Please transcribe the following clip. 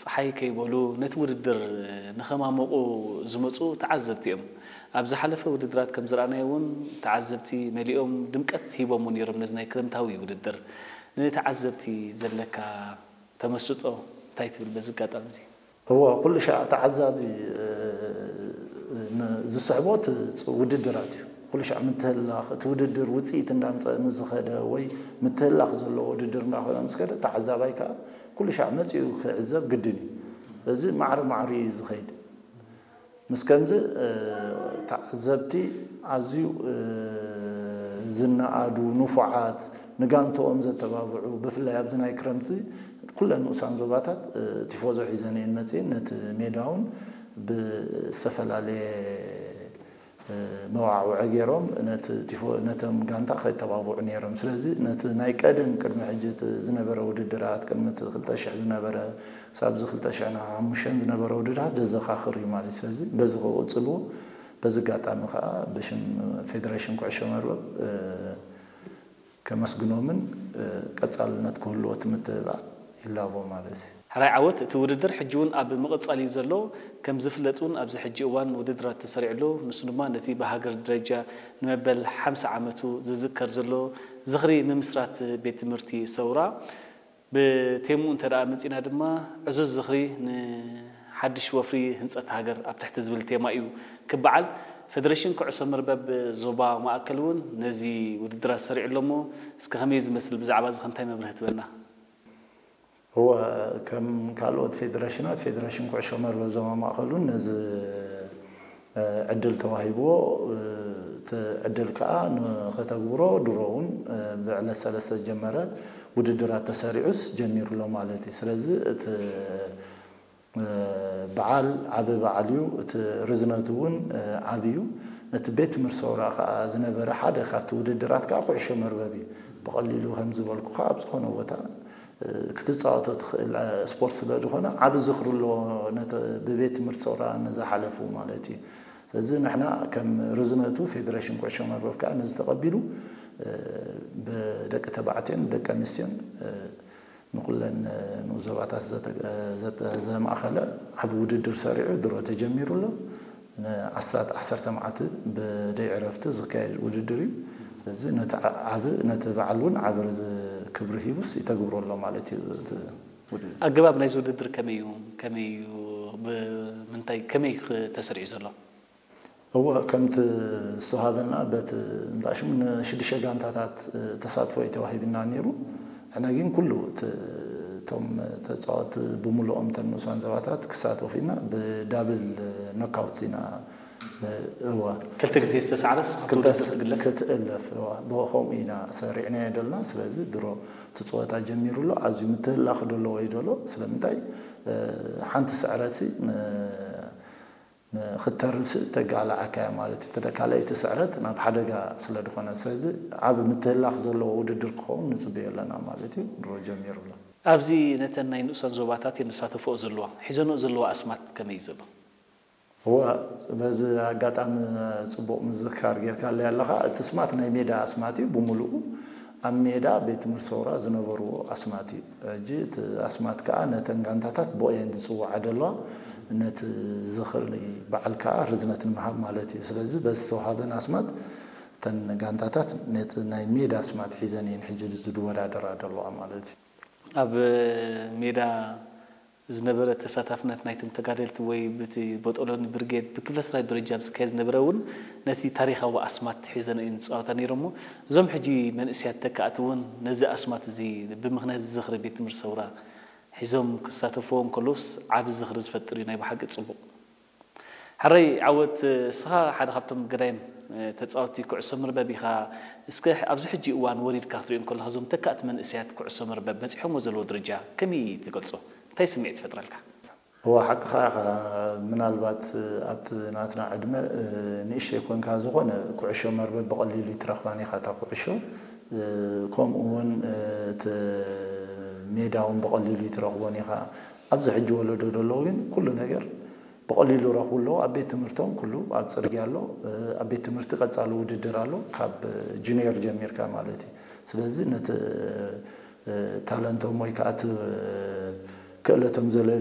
ጸሓይ ከይበሉ ነቲ ውድድር ንኸማሞቑ ዝመጹ ተዓዘብቲ እዮም። ኣብ ዝሓለፈ ውድድራት ከም ዝረኣናዮ እውን ተዓዘብቲ መሊኦም ድምቀት ሂቦምዎ ነይሮም ነዚ ናይ ክረምታዊ ውድድር። ንተዓዘብቲ ዘለካ ተመስጦ እንታይ ትብል በዚ ኣጋጣሚ እዚ? እወ፣ ኩሉ ሻዕ ተዓዛቢ፣ እ፣ ን-፣ ዝስሕቦ እቲ ጽ-፣ ውድድራት እዩ። ኩሉ ሻዕ ምትህላኽ፣ እቲ ውድድር ውጽኢት እንዳምጸ ምስ ዝኸደ ወይ ምትህላኽ ዘለዎ ውድድር እንዳኾነ ምስ ከደ፣ ተዓዛባይ ከኣ ኩሉ ሻዕ መጺኡ ክዕዘብ ግድን እዩ። እዚ ማዕረ ማዕረ እዩ ዝኸይድ። ምስ ከምዚ፣ እ፣ ተዓዘብቲ ኣዝዩ፣ እ፣ ዝነኣዱ፣ ንፉዓት፣ ንጋንትኦም ዘተባብዑ፣ ብፍላይ ኣብዚ ናይ ክረምቲ ኩለን ንኡሳን ዞባታት፣ እ፣ ቲፎዞ ሒዘን እየን መጺኤን። ነቲ ሜዳ እውን ብዝተፈላለየ፣ እ፣ መዋዕውዒ ገይሮም ነቲ ቲፎ-፣ ነቶም ጋንታ ከተባብዑ ነይሮም። ስለዚ ነቲ ናይ ቀደም ቅድሚ ሕጂ እቲ ዝነበረ ውድድራት፣ ቅድሚ እቲ ክልተ ሽሕ ዝነበረ፣ ክሳብ እዚ ክልተ ሽሕን ሓሙሽተን ዝነበረ ውድድራት ዘዘኻኽር እዩ ማለት እዩ። ስለዚ በዚ ክቕጽልዎ፣ በዚ ኣጋጣሚ ከኣ ብሽም ፌደሬሽን ኩዕሾ መርበብ፣ እ፣ ከመስግኖምን፣ እ፣ ቀጻልነት ክህልዎ እቲ ምትብባዕ ይላቦ ማለት እዩ። ሕራይ ዓወት፣ እቲ ውድድር ሕጂ እውን ኣብ ምቕጻል እዩ ዘሎ። ከም ዝፍለጥ እውን ኣብዚ ሕጂ እዋን ውድድራት ተሰሪዑ ኣሎ። ንሱ ድማ ነቲ ብሃገር ደረጃ ንመበል ሓምሳ ዓመቱ ዝዝከር ዘሎ ዝኽሪ ምምስራት ቤት ትምህርቲ ሰውራ፣ ብቴምኡ እንተ ደኣ መጺና ድማ ዕዙዝ ዝኽሪ ንሓድሽ ወፍሪ ህንጸት ሃገር ኣብ ትሕቲ ዝብል ቴማ እዩ ክበዓል። ፌደሬሽን ኩዕሶ መርበብ ዞባ ማእከል እውን ነዚ ውድድራት ሰሪዑ ኣሎ እሞ፣ እስከ ከመይ ዝመስል ብዛዕባ እዚ ከ እንታይ መብርሂ ትበና? እወ፣ ከም ካልኦት ፌደሬሽናት፣ ፌደሬሽን ኩዕሾ መርበብ ዞባ ማእከል እውን ነዚ፣ እ፣ ዕድል ተዋሂብዎ፣ እ፣ እቲ ዕድል ከኣ ንኸተግብሮ ድሮ እውን፣ እ፣ ብዕለት ሰለስተ ዝጀመረ ውድድራት ተሰሪዑስ ጀሚሩ ኣሎ ማለት እዩ። ስለዚ እቲ፣ እ፣ በዓል ዓቢ በዓል እዩ። እቲ ርዝነቱ እውን፣ እ፣ ዓቢ እዩ። ነቲ ቤት ትምህርቲ ሰውራ ከኣ ዝነበረ ሓደ ካብቲ ውድድራት ከኣ ኩዕሾ መርበብ እዩ። ብቐሊሉ ከም ዝበልኩኻ ኣብ ዝኾነ ቦታ፣ እ፣ ክትጻወቶ ትኽእል፣ እ፣ ስፖርት ስለ ዝኾነ ዓቢ ዝኽሪ ኣለዎ ነቲ ብቤት ትምህርቲ ሰውራ ንዝሓለፉ ማለት እዩ። ስለዚ ንሕና ከም ርዝነቱ ፌደሬሽን ኩዕሾ መርበብ ከኣ ነዚ ተቐቢሉ፣ እ፣ ብደቂ ተባዕትዮን ደቂ ኣንስትዮን፣ እ፣ ንኹለን ንኡስ ዞባታት ዘተ-፣ ዘተ-፣ ዘማእኸለ ዓቢ ውድድር ሰሪዑ ድሮ ተጀሚሩ ኣሎ። ንኣስታት ዓሰርተ መዓልቲ ብደይ ዕረፍቲ ዝካየድ ውድድር እዩ። ስለዚ ነቲ ዓ-፣ ዓቢ፣ ነቲ በዓል እውን ዓቢ ዝ-፣ ክብሪ ሂቡስ ይተግብሮ ኣሎ ማለት እዩ እቲ ውድድር። ኣገባብ ናይዚ ውድድር ከመይ እዩ? ከመይ እዩ? ብምንታይ፣ ከመይ ክ-፣ ተሰሪዑ ዘሎ? እወ፣ ከምቲ ዝተዋሃበና በቲ እንዳ ሽሙ ንሽዱሽተ ጋንታታት፣ እ፣ ተሳትፎ እዩ ተዋሂብና ነይሩ። ንሕና ግን ኩሉ እቲ፣ እቶም ተጻወትቲ ብምሉኦም እተን ንኡሳን ዞባታት ክሳተፉ ኢና ብዳብል ኖካውት ኢና፣ እ፣ እወ። ክልተ ግዜ ዝተሳዕረስ ክልተ ክውድድር ስ-፣ ትግለፍ? ክትእለፍ፣ እወ። ብኸምኡ ኢና ሰሪዕናዮ ደልና። ስለዚ ድሮ እቲ ጸወታ ጀሚሩ ኣሎ። ኣዝዩ ምትህላኽ ደለዎ እዩ ደሎ። ስለምንታይ፣ እ፣ ሓንቲ ስዕረትሲ ን-፣ ንኽተርፍ ስ-፣ ተጋልዓካ እያ ማለት እዩ። እቲ ካልኣይቲ ስዕረት ናብ ሓደጋ ስለ ዝኾነ፣ ስለዚ ዓቢ ምትህላኽ ዘለዎ ውድድር ክኸውን ንጽበዮ ኣለና ማለት እዩ። ድሮ ጀሚሩ ኣሎ። ኣብዚ ነተን ናይ ንኡሳን ዞባታት እየን ዝሳተፍኦ ዘለዋ። ሒዘንኦ ዘለዋ ኣስማት ከመይ እዩ ዘሎ? እወ፣ በዚ ኣጋጣሚ ጽቡቕ ምዝክካር ጌርካለይ ኣለኻ። እቲ ኣስማት ናይ ሜዳ ኣስማት እዩ ብምሉኡ። ኣብ ሜዳ ቤት ትምህርቲ ሰውራ ዝነበርዎ ኣስማት እዩ። ሕጂ እቲ ኣስማት ከኣ ነተን ጋንታታት ብኡ እየን ዝጽውዓ ዘለዋ። ነቲ ዝኽሪ በዓል ከኣ ርዝነት ንምሃብ ማለት እዩ። ስለዚ በዚ ዝተዋሃበን ኣስማት እተን ጋንታታት ነቲ ናይ ሜዳ ኣስማት ሒዘን እየን ሕጂ ዝወዳደራ ዘለዋ ማለት እዩ። ኣብ ሜዳ ዝነበረ ተሳታፍነት ናይቶም ተጋደልቲ ወይ ብቲ ቦጦሎኒ ብርጌድ ብክፍለ ሰራዊት ደረጃ ኣብ ዝካየድ ዝነበረ እውን ነቲ ታሪኻዊ ኣስማት ሒዘን እየን ዝጻወታ ነይረን እሞ፣ እዞም ሕጂ መንእሰያት ተካእቲ እውን ነዚ ኣስማት እዚ ብምኽንያት ዝኽሪ ቤት ትምህርቲ ሰውራ ሒዞም ክሳተፍዎ እንከለውስ ዓቢ ዝኽሪ ዝፈጥር እዩ። ናይ ብሓቂ ጽቡቕ። ሕራይ ዓወት፣ እስኻ ሓደ ካብቶም ገዳይም፣ እ፣ ተጻወትቲ ኩዕሶ መርበብ ኢኻ። እስከ ኣብዚ ሕጂ እዋን ወሪድካ ክትሪኦ እንከለኻ፣ እዞም ተካእቲ መንእሰያት ኩዕሶ መርበብ በጺሖምዎ ዘለዉ ደረጃ ከመይ ትገልጾ? እንታይ ስምዒት ይፈጥረልካ? እወ፣ ሓቅኻ ኢኻ። ምናልባት፣ እ፣ ኣብቲ ናትና ዕድመ፣ እ፣ ንእሽተይ ኮንካ፣ ዝኾነ ኩዕሾ መርበብ ብቐሊሉ ይትረኽባን ኢኻ፣ እታ ኩዕሾ። እ፣ ከምኡ እውን፣ እ፣ እቲ ሜዳ እውን ብቐሊሉ ይትረኽቦን ኢኻ። ኣብዚ ሕጂ ወለዶ ደሎ ግን ኩሉ ነገር ብቐሊሉ ረኽቡ ኣለዉ። ኣብ ቤት ትምህርቶም ኩሉ ኣብ ጽርግያ ኣሎ። እ፣ ኣብ ቤት ትምህርቲ ቀጻሊ ውድድር ኣሎ፣ ካብ ጁኒየር ጀሚርካ ማለት እዩ። ስለዚ ነቲ፣ እ፣ ታለንቶም ወይ ከኣ እቲ ክእለቶም ዘለሊ